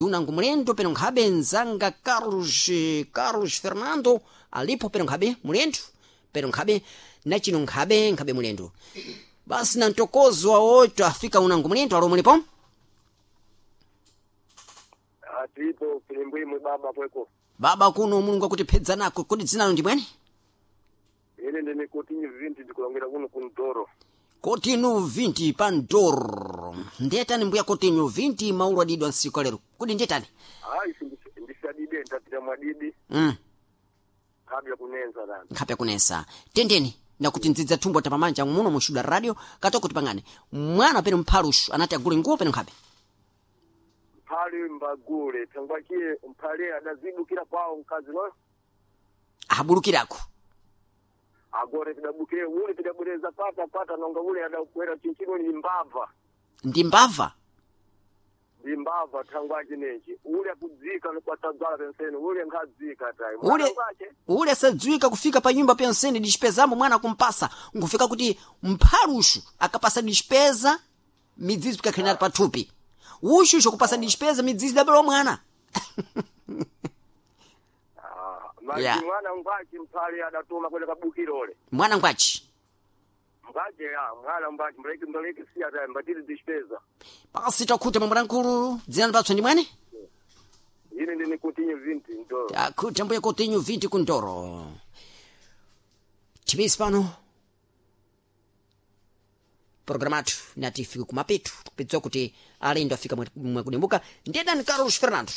Unangu mulendo peno nkhabe nzanga Carlos Fernando alipo peno nkhabe mulendo peno nkhabe nachino nkhabe nkhabe mulendo basi na mtokozo wa oito afika unangu mulendo alo mulipo. Atipo kilimbwimwe baba pweko. Baba kuno Mulungu akutiphedza nako. Kodi dzinalo ndi bwene? Ine ndine kotinyu 20 ndikulongera kuno kuntoro. Kotinyu 20 pa ndoro. Ndetani mbuya kotinyu 20 maulu adidwa nsiku lero. Kodi ndetani? Ayi ndisadide ndatira mwadidi. Kabla kunenza dani. Nkhape kunensa. Tendeni nakuti ndzidza thumbo tapamanja muno mushuda radio katoko tipangane. Mwana peno mphalushu anati agule nguwo peno nkhape. Mphali mbagule tangwakiye mphali adazibukira kwawo mkazi no. Abulukirako. Agore tidabukire ule tidabwereza pata pata nonga ule adakwera chinchino ni mbava. Ndi mbava. Ndi mbava tangwachi nechi. Ule akudzika nokwatadzala penseni ule nkhadzika tayi. Ule ule asadziwika kufika pa nyumba penseni dispezamo mwana kumpasa nkufika kuti mphalushu akapasa dispeza midzizi pikakhenera pathupi. Ushusho kupasa dispeza midzizi dabelo mwana. Maji Yeah. mwana ngwachi mphali adatuma kwenda kabukirole. Mwana ngwachi. Mbaje ya mwana mbaje mleki mleki siya tayi mbatiri dispeza. Pasi takhuta mwamulankulu dzina lipatso ndi mwene? Ine ndine kotinyu 20 ndoro. Takhuta mbuya kotinyu 20 kundoro. Chimisi pano. Programatu nati ifike kumapetu kupedza kuti alendo afika mwakudimbuka ndiyedani Carlos Fernando.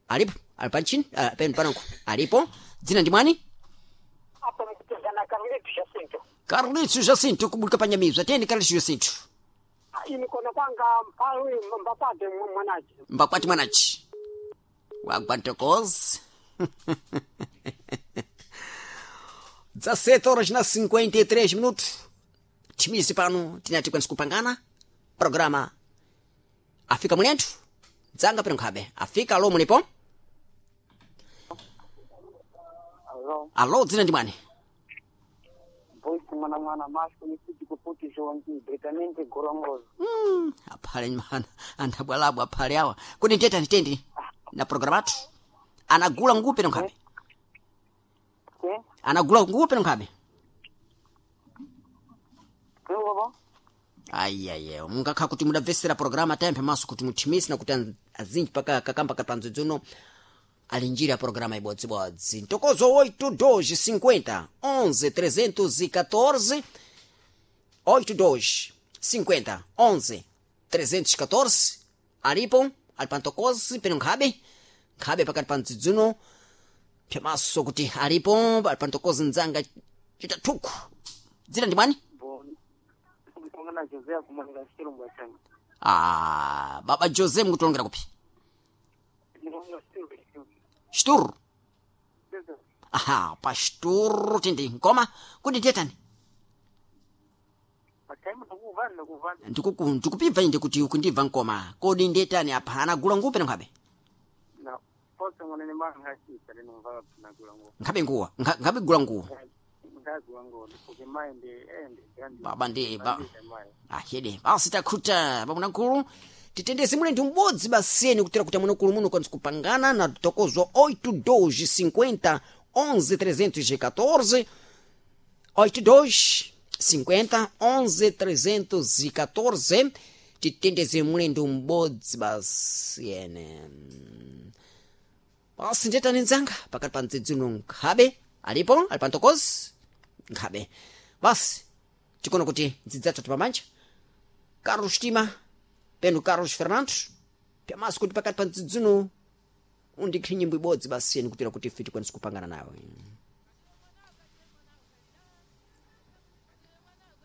Alipo ali pantchini penu panonko alipo dzina ndi mwani? Apa mkutazana Carlitos Jacinto. Carlitos Jacinto kubulika panyamizwa tiyeni Carlitos Jacinto. Ini kona kwanga mphalu mbakwate mwanachi. Mbakwati mwanachi wagwantokozi. 17 horas na 53 minutos. Chimisi pano tinati kwanisa kupangana programa afika mulenthu dzanga pano nkhabe afika alo mulipo. Alo, Alo dzina ndi mwani? voice mwana mwana masko ni kuti kuputi jongi britamente gorongozo. Aphale mana anthabwalabwa aphale awa kuti ndiyetani tendi na programatu anagula nguwo pano nkhabe. Ke? Anagula nguwo pano nkhabe. Ke baba? Aiyaye mungakha kuti mudabvesera programa tayemphe maso kuti muthimise nakuti azinji paka kakamba kapanzo dzuno ali njira ya programa ibodzibodzi ntokozo 8 2 50 11 314 8 2 50 11 314 alipo ali pantokozi peno nkhabe nkhabe pakati pa mdzidzuno pyamaso kuti alipo ali pantokozi mdzanga chitathuku dzina ndi mwani? Bo. Mkongana José kumanga chirumba changa. Ah, baba Jose mukutolongera kupi? Ndikonga chirumba. Xituru. Aha, pa xituru tindi nkoma kuti ndiyetani? Pataimu ndikuvana ndikuvana. Ndikupibva inde kuti ukundibva nkoma. Kodi ndiyetani apa anagula nguwo peno nkhabe? Na posa mwana ni mwana ngachita lino mvala tunagula ngo. Nkhabe nguwa, nkhabe gula nguwo. Ngagula ngo ndifuke mai ndi ende grandi. Baba ndi ba. Mai. Ahede, basi takhuta bamunakulu. Titendeze mule ndi m'bodzi baseni kutera kuti amunakulu muno kwanza kupangana na tokozwa 8 2 50 11 314 82 50 11 314 titendeze mulendo m'bodzi basi ene basi ndetani nzanga pakati pa mdzidzuno nkhabe alipo ali pantokozi nkhabe basi tikuona kuti ndzidzatatu pamanja Carlos Tima penu Carlos Fernando pyamaso kuti pakati pa mdzidzuno undikhi nyimbo ibodzi basi ene kutera kuti ife tikwanise kupangana nawe.